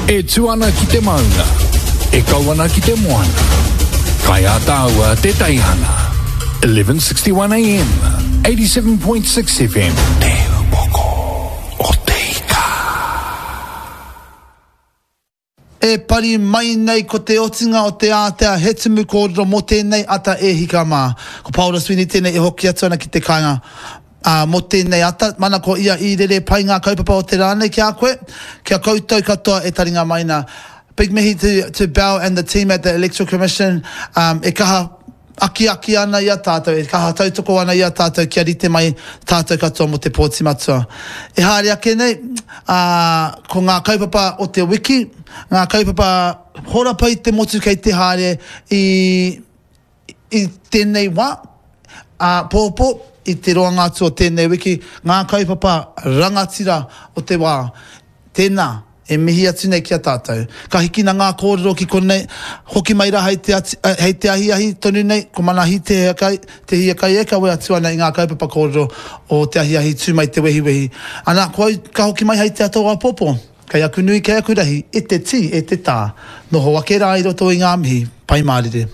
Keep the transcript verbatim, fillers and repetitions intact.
E tū ana ki te maunga, e kau ana ki te moana. Kai a tāua te teihana. eleven sixty-one A M, eighty-seven point six F M. Te Upoko o Te Ika. E pari mai nei ko te otinga o te ātea he tumu kōrero mō tēnei ata e hika mā. Ko Paora Sweeney tēnei e hoki atu ana ki te kāinga ā, mō tēnei ata. Mana ko ia i rere pai ngā kaupapa o te rā nei ki a koe, ki a koutou katoa e taringa mai nā. Big mihi to, to Bell and the team at the Electoral Commission um, e kaha akiaki ana i a tātou, e kaha tautoko ana i a tātou kia rite mai tātou katoa mō te pōti matua. E haere ake nei, ā, ko ngā kaupapa o te wiki, ngā kaupapa horapa i te motu kei te haere i, i tēnei wā, ā, pōpō, i te roanga atu o tēnei wiki, ngā kaupapa rangatira o te wā. Tēnā, e mihi atu nei ki a tātou. Ka hikina ngā kōrero ki konei, hoki mai rā hei te, ati, eh, hei te ahiahi tonu nei, ko Manahi te hiakai, te hiakai e kawe atu ana i ngā kaupapa kōrero o te ahiahi tū mai te wehiwehi. Ana, ko au ka hoki mai hei te ata o āpōpō. Kei aku nui, kei aku rahi, e te tī, e te tā. Noho ake rā i roto i ngā mihi, pai mārire.